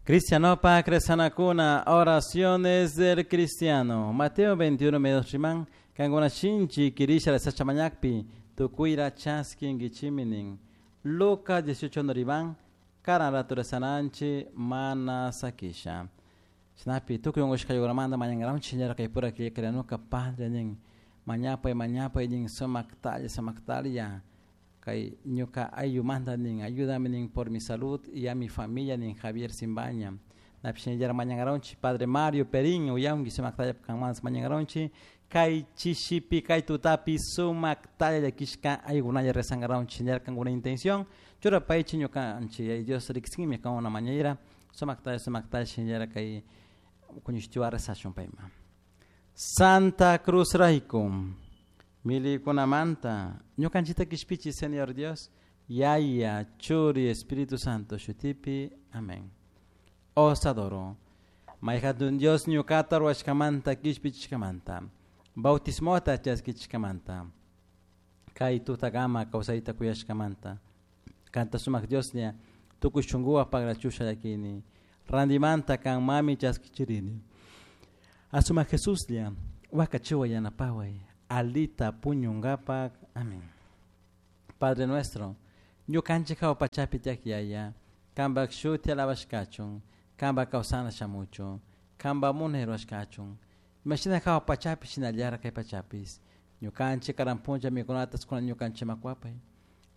Cristianopak rezanakuna, oraciones del cristiano. Mateo 21 medio riman, kankuna shinchi kirisha rezasha mañakpi, tukuyra chaskinkichimi nin. Lucas 18 no riman, karan ratu rezananchi mana sakisha. Shinapi tukuy unkushkaykunamanta mañankaranchik shinallara kay pura killakarianuka padre nin mañapay mañapay nin sumaktalla sumaktalla kay ñuka ayllumanta nin ayúdame nin por mi salud y a mi familia nin Javier Simbaña. Napi shinallara mañankaranchik padre Mario Perín uyanki sumaktalla kanmanta mañankaranchik kay chishipi kay tutapi sumaktalla llakishka aykunalla rezankaranchik shinallara kankuna intención churapaychik ñukanchik Dios riksinmi kankuna mañayra sumaktalla sumaktalla shinallara kay kuñushtiwa rezashun payman. Santa Cruz rayku milikunamanta ñukanchikta kishpichi Señor Dios Yaya Churi Espíritu Santo shutipi amén. Os adoro. May hatun Dios ñukata ruwashkamanta kishpichishkamanta bautismota chaskichishkamanta kay tutakama kawsayta kuyashkamanta kanta sumak Dioslla tukuy shunkuwan pagrachusha llakini randimanta kan mami chaskichirini asumak Jesuslla wakachiway yanapaway alita puñunkapak amén. Padre nuestro ñukanchik hawa pachapi tiyak Yaya kanpak shuti alabashkachun kanpak kawsana shamuchun kanpak munay rurashkachun imashina hawa pachapi shinallara kay pachapis ñukanchik karan punlla mikunatas kunan ñukanchikman kuwapay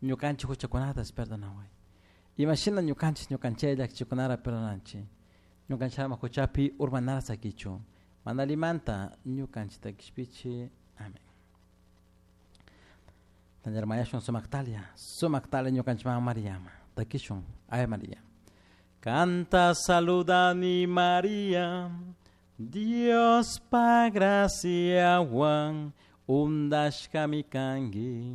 ñukanchik huchakunatas perdonaway imashina ñukanchik ñukanchik llakichikunara perdonanchik ñukanchik ama huchapi urmanara sakichun mana allimanta ñukanchikta kishpichi amén. Tañar mañashun sumaktalla sumaktalla ñukanchikman Mariama takishun Ave María. Kanta saludani María, Dios pa graciawan undashkami kanki,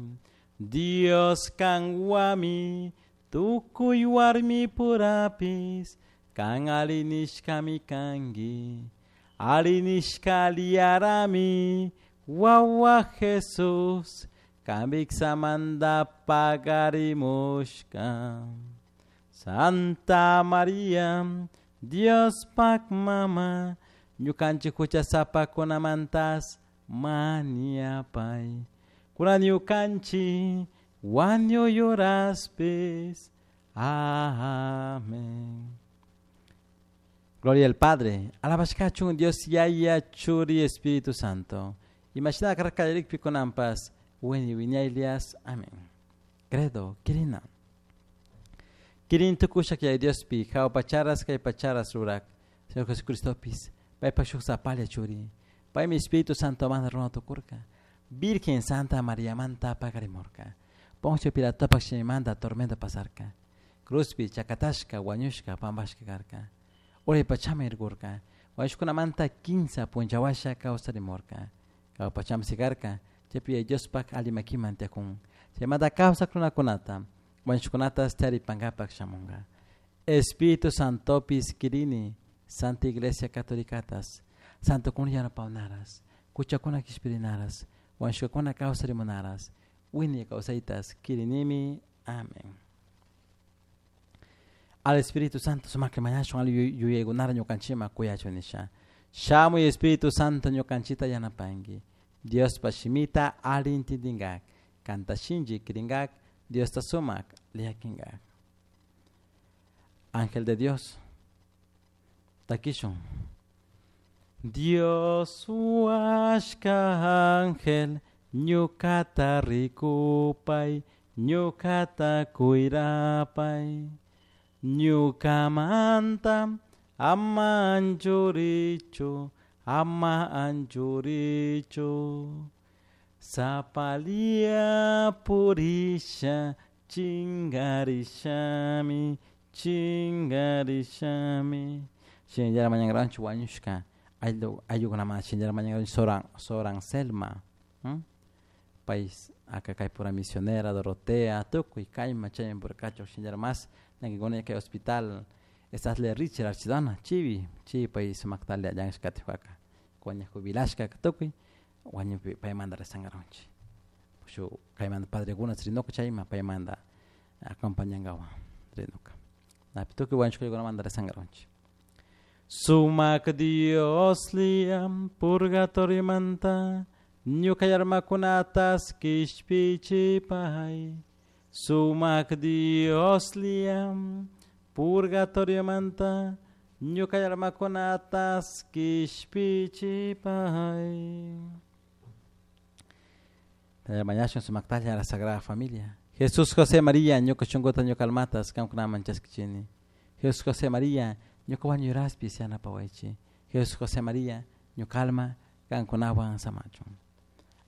Dios kanwami tukuy warmi purapis kan alinishkami kanki, alinishka aliyarami wawa Jesús kambiksamanta pagarimushka. Santa María, Dios pak mama, ñukanchik huchasapakunamantas mañapay. Kunan ñukanchik wañuy horaspis. Amén. Gloria al Padre, alabashkachun Dios Yaya Churi Espíritu Santo. Imashina karkallarikpi kunanpas, wiñay wiñaylias. Amén. Credo, kirina. Kirin tukushak Yaya Diospi, hawa pacharas kay pacharas rurak. Señor Jesucristopis, paypak shuk sapalla churi. Paymi Espíritu Santo manta runa tukurka. Virgen Santa María manta pakarimurka. Poncio Pilatopak shimimanta tormenta pasarka. Cruzpi chakatashka wañushka pampashka karka. Uray pachama irkurka. Wañushkunamanta kinsa punchawasha kawsarimurka. Hawa pachama sikarka. Chaypi Yaya Diospak alli makiman tiyakun. Chaymanta kawsak runakunata wañushkunatas taripankapak shamunka. Espíritu Santopis kirini, Santa Iglesia Católicatas, Santokuna yanapawnaras, kuchakuna kishpirinaras, wañushkakuna kawsarimunaras, wiñay kawsaytas kirinimi. Amén. Al Espíritu Santo sumakri mañashun alli yuyaykunara ñukanchikman kuyachun nisha. Shamuy Espíritu Santo ñukanchikta yanapanki. Diospa shimita alli intindinkak, kanta shinchi kirinkak, Diosta sumak liakinkak. Ángel de Dios, takishun. Dios huashka ángel, ñukata rikupay, ñukata kuyrapay. Ñukamanta ama anchurichu, ama anchurichu. Sapalia purisha, chingarishami, chingarishami. Shinallara mañankaranchik wañushka ayllukunamanta shinallara mañankaranchik Soran, Soran Selma. Pay acá kay pura misionera Dorotea tukuy kayma chayman purkachu shinallara mas ñankikuna kay hospital Estasle Richard Archidona chivi chivi pay sumaktalla llankashkatiwaka kuña jubilashka tukuy wañupi paymanta rezankaranchik shuk kaymanta padrekuna rinuka chayma paymanta acompañankawan rinuka napi tukuy wañushkakunamanta rezankaranchik. Sumak Dioslla purgatoriomanta ñuka almakunatas kishpichipay. Sumak Dioslla purgatoriomanta ñuka almakunatas kishpichipay. Mañashun sumaktalla a la Sagrada Familia. Jesús, José, María, ñuka shunkuta ñuka almatas kankunaman chaskichini. Jesús, José, María, ñuka wañuraspi yanapawaychik. Jesús, José, María, ñuka alma kankunawan samachun.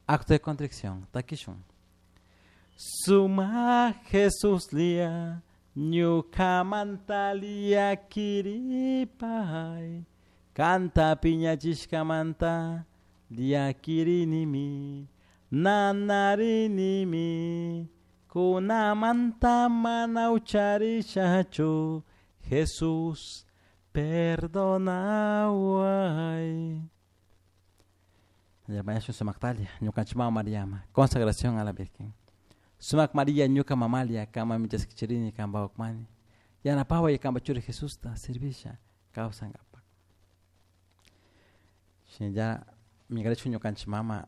Acto de contrición, takishun. Suma Jesús lia, ñukamanta llakiripay. Kanta piñachishkamanta llakirinimi, nanarinimi, kunamanta mana ucharishachu, Jesús, perdonaway. Sumaktalia, ñukanchik mama Mariama, consagración a la Virgen. Sumak María, ñuka mamalia, kama michaskichirini, kamba ukmani. Yanapaway kamba churi Jesusta, servisha, kawsankapak. Shinalla, migrechu ñukanchik mama,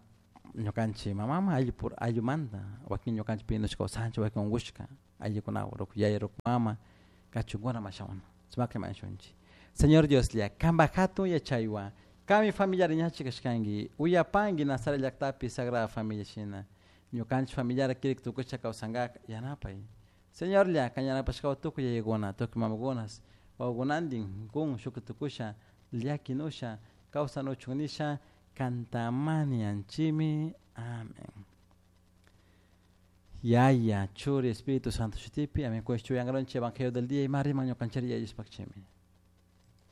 ñukanchik mamama ayllu pur ayllumanta, wakin ñukanchik pinushka kawsanchik, wakin unkushka, ayllukunawan, ruku yaya, ruku mama, kachunkuna mashawana, sumaklla mañashunchik. Señor Dioslla, kamba hatun yachaywan, kami familiar ñachi kashkanki, uyapanki Nazaret llaktapi Sagrada Familia shina, ñukanchik familiar kirik tukusha kawsankak yanapay. Señorlla, kan yanapashkawan tukuy yayakuna, tukuy mamakunas, wawakunantin kun shuki tukusha, llakinusha, kawsanuchun nisha, kantamani anchimi. Amén. Yaya, Churi, Espíritu Santo shutipi, amén. Kushchu yangaronchi Evangelio del día y marima ñukanchari yayuspakchimi.